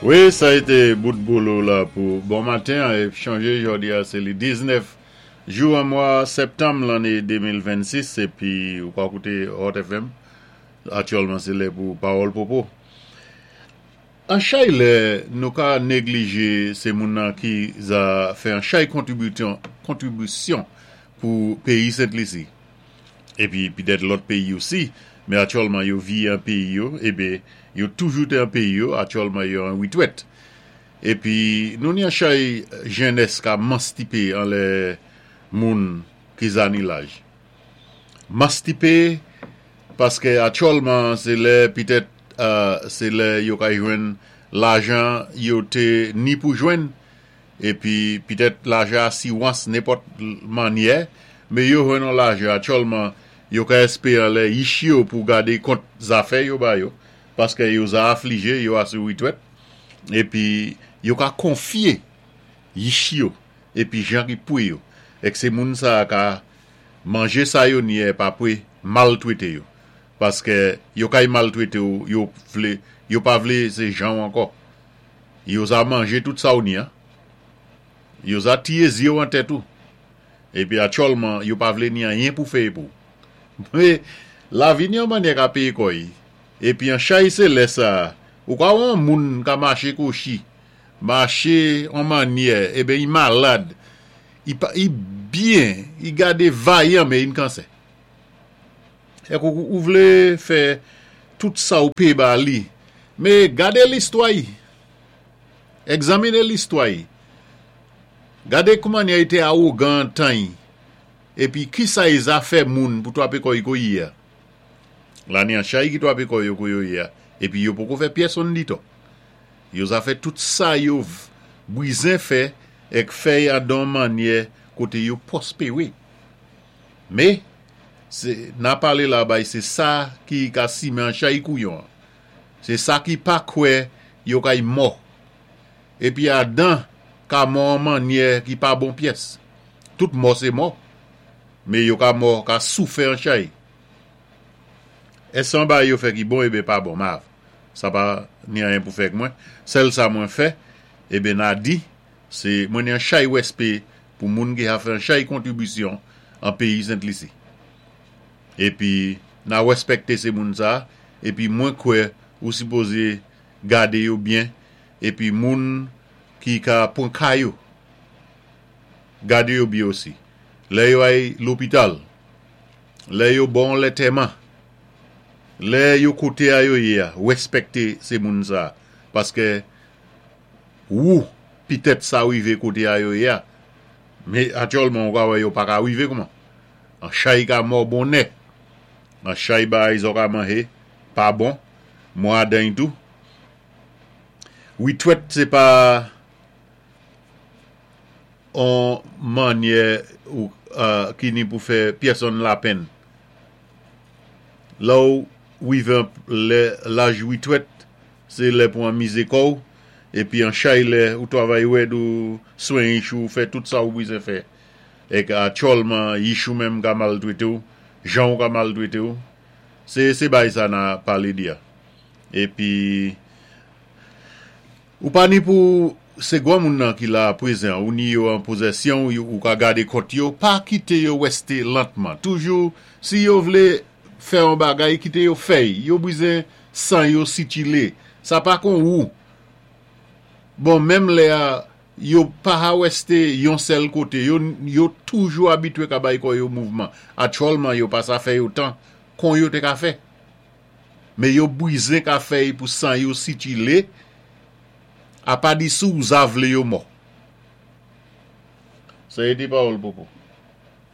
Wi, sa été bout bolo la pou bon maten an é chonjé jòdi a sé li 19 jou an mwa sèptanm lanné 2026 épi ou ka kouté Hot FM aktyèlman sé lè pou pawòl popo. An chay lè nou ka neglije se moun nan ki za fè an chay kontribisyon pou peyi Sent Lisi epi pitèt lòt peyi osi men aktyèlman yo vi an peyi yo ebe yo toujou te an peyi yo aktyèlman yo an retwèt epi nou ni an chay jennès ka manstipe anlè moun ki za ni laj. Mastipe paske atyòlman se lè pitèt se lè yo ka jwenn lajan yo te ni pou jwenn epi pitèt lajan asiwans nenpòt mannyè men yo jwenn yon lajan atyòlman yo ka espere lè yich yo pou gade kont zafè yo ba yo paske yo za aflije yo asou retwèt epi yo ka konfye yich yo epi jan ki pwe yo ek se moun sa ka Manje sa yo nye pa pwe maltwete yo paske yo kay maltwete w yo vle yo pa vle se janw ankò yo za manje tout sa w ni an yo za tiye zyew an tèt ou epi atyòlman yo pa vle ni anyen pou feye pou w lavi ni yon mannyè ka peye kòy epi an chay se lè sa ou ka wè yon moun ka mache kochi mache yon mannyè eben i malad I pa i byen, i gade vayan men in kansè. Ek ou ou vle fè tout sa ou pe ba li. Me gade listwa i. Egzamine listwa i. Gade kouman i te awogan an tan i. Epi kisa i zafè moun pou twape kò i ko ye a. Lane an chay ki twape kò yo ko yo ye a. Epi yo poko fè pyèsonn ditò. Yo zafè tout sa yo bwizen fè èk fèy an don mannyè koté yo pwospéwé. Mé, sé na palé la bay sé sa ki ka simen an chay kouyon an. Sé sa ki pa kwè yo kay mò. Épi Adan ka mò an mannyè ki pa bon pyès. Tout mò sé mò, mé yo ka mò ka soufè an chay. Ès an bay yo fè ki bon eben pa bon mav. Sa pa ni anyen pou fè ak mwen. Sèl sa mwen fè, eben na di, se mwen ni an chay wèspé pou moun ki ha fè an chay kontribisyon an peyi Sent Lisi. Epi na wèspèkte se moun sa, epi mwen kwè ou sipoze gade yo byen, epi moun ki ka pwan ka yo, gade yo byen osi. Lè yo ay lopital, lè yo ba w lètèman, Lè yo kote a yo ye a respekte se moun sa paske wou pitèt sa rive kote a yo ye a me atyòlman ou ka wè yo paka rive kouman an chay ka mò bonè an chay bagay zò ka manje pa bon mwa dany tou wi twèt se pa on manyè ou ki ni pou fè pyèsonn lapenn. Lè w rive lè laj retwèt, se lè pou anmize kò w, epi an chay lè ou twavay rèd ou swen yich ou fè tout sa ou bwizen fè. Èk atyòlman yich ou menm ka maltwete w, jan w ka maltwete w. Se se bay sa na pale di a. Epi. Ou pa ni pou se gwanmoun nan ki la prezan ou ni yo an pozèsyon w ou ka gade kont yo pa kite yo wèste lantman toujou si yo vle fè yon bagay kite yo fèy yo bwizen yo sitile sa pa kon wou bon menm lè a yo pa ha wèste yon sèl kote yo yo toujou abitwe ka bay kò yo mouvman atchòlman yo pa sa fè yo tan kon yo te ka fè. Men yo bwizen ka fèy pou yo sitile, apa di sou za vle yo mò. Sa ete pawòl popo.